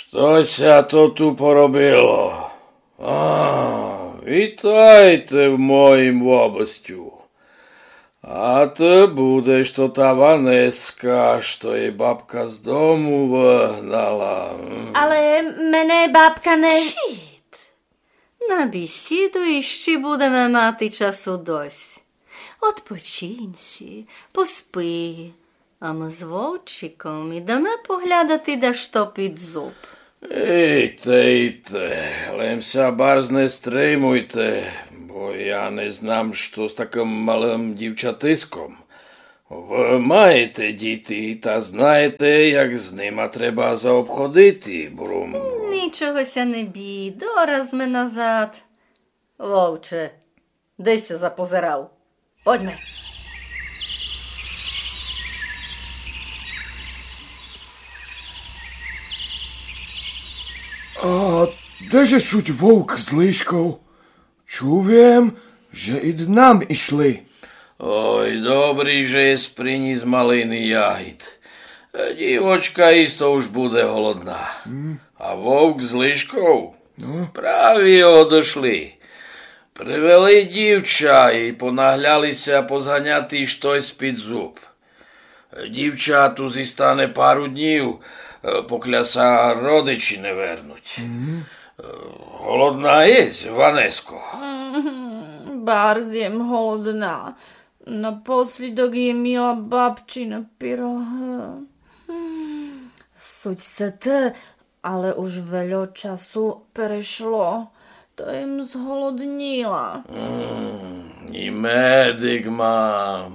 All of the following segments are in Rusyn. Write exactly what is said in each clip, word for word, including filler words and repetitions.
Што ся то ту поробило? А, витайте в моїм вобстю. А ты будеш тота Ванеска, што єй бабка з дому выгнала. М. Але мене бабка не... Чіт! На бісіду іщи будеме мати часу досьт. Одпочинь сі, поспи, а мы з Вовчиком ідеме поглядати дашто під зуб. Ійте, ійте, лем ся барз не стримуйте, бо я не знам, што з такым малым дівчатиском. Вы маєте діти, та знаєте, як з нима треба заобходити, Брум. Нічого ся не бій, дораз зме назад. Вовче, де ся запозирав? Подьме. А де же суть Вовк з Лишков? Чув єм, же ид нам ішли. Ой, добрі, же єс приніс малины ягід. Дівочка істо уж буде голодна. М. А Вовк з Лишков? Ну? Праві одышли. Привели дівча і понагляли ся позганяти штось під зуб. Дівча ту зістане пару днів, е, покля ся родичі не вернуть. Мгм. Е, голодна єсь, Ванеско? М, барз єм голодна. Напослідок єм їла бабчины пирогы. М, суть сыты, але уж вельо часу перешло, та єм зголодніла. М, і медик мам,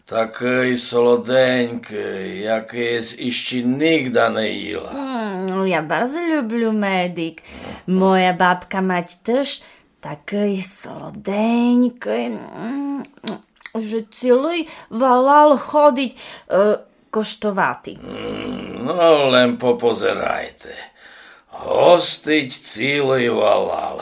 такый солоденькый, якый єс іщи нигда не їла. М, я барз люблю медик. Моя бабка мать тыж такый солоденькый, м, же цілый валал ходить, е, коштовати. М, но, лем попозирайте. Гостить цілый валал.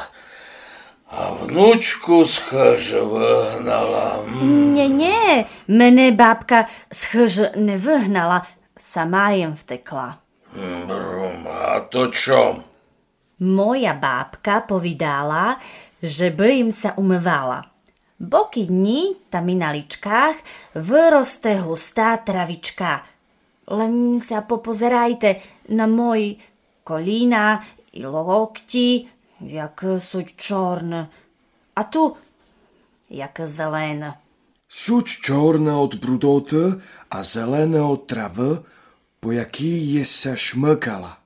А внучку з хыжы выгнала. М. Нє, нє, мене бабка з хыжы не выгнала, сама єм втекла. М, Брум, а то чом? Моя бабка повідала, же бы єм ся умывала. Бо кідь нї, та мі на личках выросте густа травичка. Лем ся попозирайте на мої коліна і локті, якы суть чорны. А ту, якы зелены. Суть чорны од брудоты, а зелены од травы, по якій єс ся шмыкала.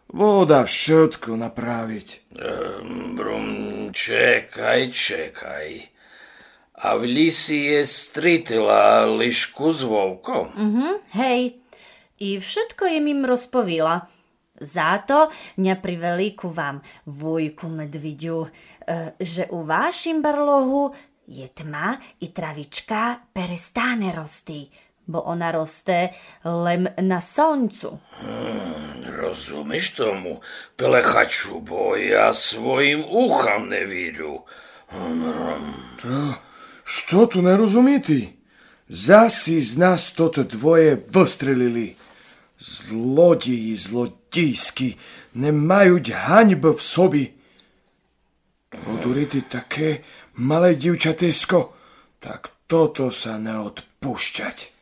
Вода вшытко направить. Ем, Брум, чекай, чекай. А в лісі єс стрітила Лишку з Вовком? Угу, гей. І вшытко єм їм розповіла. Зато ня привели ку вам, вуйку медвідю, е, же у вашім барлогу є тма і травичка перестане рости, бо она росте лем на сонцю. М, розумиш тому, пелехачу, бо я своїм ухам не вірю. М. Та што ту не розуміти? Зась із нас тоты двоє выстрелили. Злодії злодійські, не мають ганьбы в собі. Одурити таке мале дівчатисько, так тото ся не одпущать.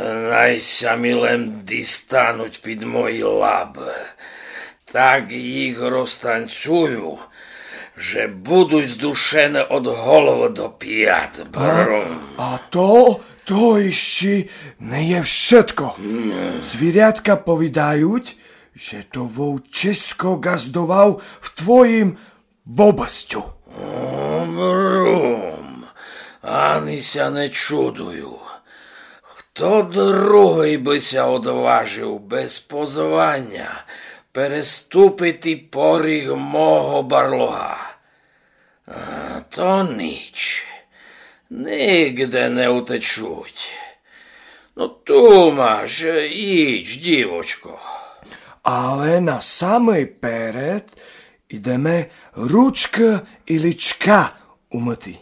Най ся мі лем дістануть під мої лабы. Так їх розтанцюю, же будуть здушены од головы до пят, Брум. А то, то іщи не є вшытко. Звірятка повідають, же то вовчисько ґаздовав в твоїм вобстю. О, Брум, ани ся не чудую. Хто другый бы ся одважив без позваня переступити поріг мого барлога? А то ніч. Нигде не утечуть. Но, ту маш, їдж, дівочко. Але на самый перед ідеме ручкы і личка умыти.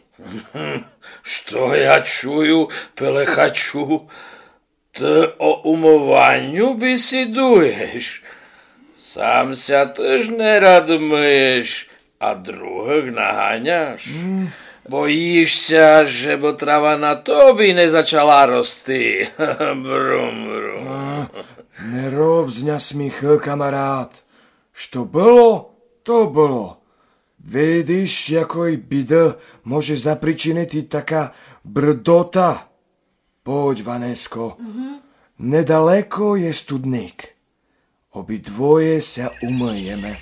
Што я чую, пелехачу? Ты о умываню бесідуєш? Сам ся тыж нерад мыєш, а другых наганяш. Боїш ся, жебы трава на тобі не зачала рости. Брум, брум. А, не роб з ня сміхы, камарат. Што было, то было. Видиш, якой біды може запричинити така брдота. Подь, Ванеско. Недалеко є студник. Обидвоє ся умыєме.